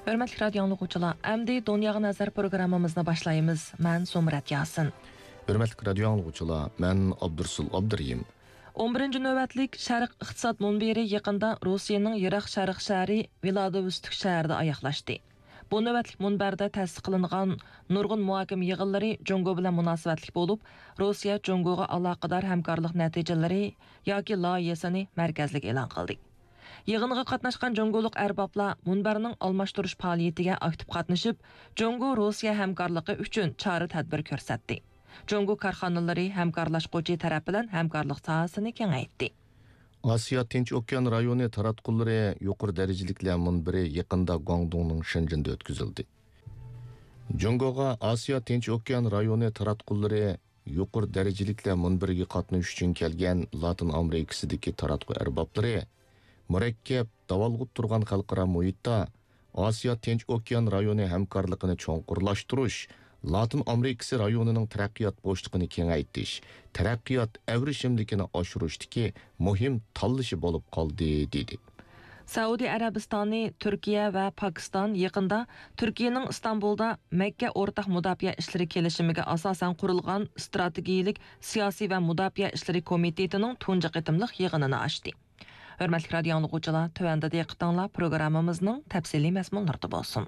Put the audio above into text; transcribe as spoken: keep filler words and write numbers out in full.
ھۆرمەتلىك رادىيو ئاڭلىغۇچىلار، ئەمدى دۇنياغا نەزەر پروگراممىمىزنى باشلايمىز. مەن سومرەت ياسىن. ھۆرمەتلىك رادىيو ئاڭلىغۇچىلار، مەن ئابدۇرسۇل ئابدۇرېھىم. ئون بىرىنچى نۆۋەتلىك شەرق ئىقتىساد مۇنبىرى يېقىندا روسىيەنىڭ يىراق شەرق شەھىرى ۋىلادىۋوستوك شەھىرىدە ئاياغلاشتى. بۇ نۆۋەتلىك مۇنبەردە تەسىس قىلىنغان نۇرغۇن مۇھاكىمە يىغىنلىرى جۇڭگو بىلەن مۇناسىۋەتلىك بولۇپ، روسىيە جۇڭگوغا ئالاقىدار ھەمكارلىق نەتىجىلىرى ياكى لايىھەسىنى مەركەزلىك ئېلان قىلدى. يىغىنغا قاتناشقان جۇڭگولۇق ئەربابلار مۇنبەرنىڭ ئالماشتۇرۇش پائالىيىتىگە ئاكتىپ قاتنىشىپ، جۇڭگو روسىيە ھەمكارلىقى ئۈچۈن چارە تەدبىر كۆرسەتتى. جۇڭگو كارخانىلىرى ھەمكارلاشقۇچى تەرەپ بىلەن ھەمكارلىق ساھەسىنى كېڭەيتتى. ئاسىيا تىنچ ئوكيان رايونى تاراتقۇلىرى يۇقىرى دەرىجىلىكلەر مۇنبىرى يېقىندا گۇاڭدۇڭنىڭ شېنجېندا ئۆتكۈزۈلدى. جۇڭگوغا ئاسىيا تىنچ ئوكيان رايونى تاراتقۇلىرى يۇقىرى دەرىجىلىكلەر مۇنبىرىگە قاتنىشىش ئۈچۈن كەلگەن لاتىن ئامېرىكىسىدىكى تاراتقۇ ئەربابلىرى مۇرەككەپ، داۋالغۇپ تۇرغان خەلقئارا مۇھىتتا ئاسىيا تىنچ ئوكيان رايونى ھەمكارلىقىنى چوڭقۇرلاشتۇرۇش، لاتىن ئامېرىكىسى رايونىنىڭ تەرەققىيات بوشلۇقىنى كېڭەيتىش، تەرەققىيات ئەۋرىشىملىكىنى ئاشۇرۇشتىكى مۇھىم تاللىشى بولۇپ قالدى، دېدى. سەئۇدى ئەرەبىستانى، تۈركىيە ۋە پاكىستان يېقىندا تۈركىيەنىڭ ئىستانبۇلدا مەككە ئورتاق مۇداپىئە ئىشلىرى كېلىشىمىگە ئاساسەن قۇرۇلغان ئىستراتېگىيىلىك سىياسىي ۋە مۇداپىئە ئىشلىرى كومىتېتىنىڭ تۇنجى قېتىملىق يىغىنىنى ئاچتى. ھۆرمەتلىك رادىيو ئاڭلىغۇچىلار، تۆۋەندە دىققىتىڭلار پروگراممىمىزنىڭ تەپسىلىي مەزمۇنلىرىدا بولسۇن.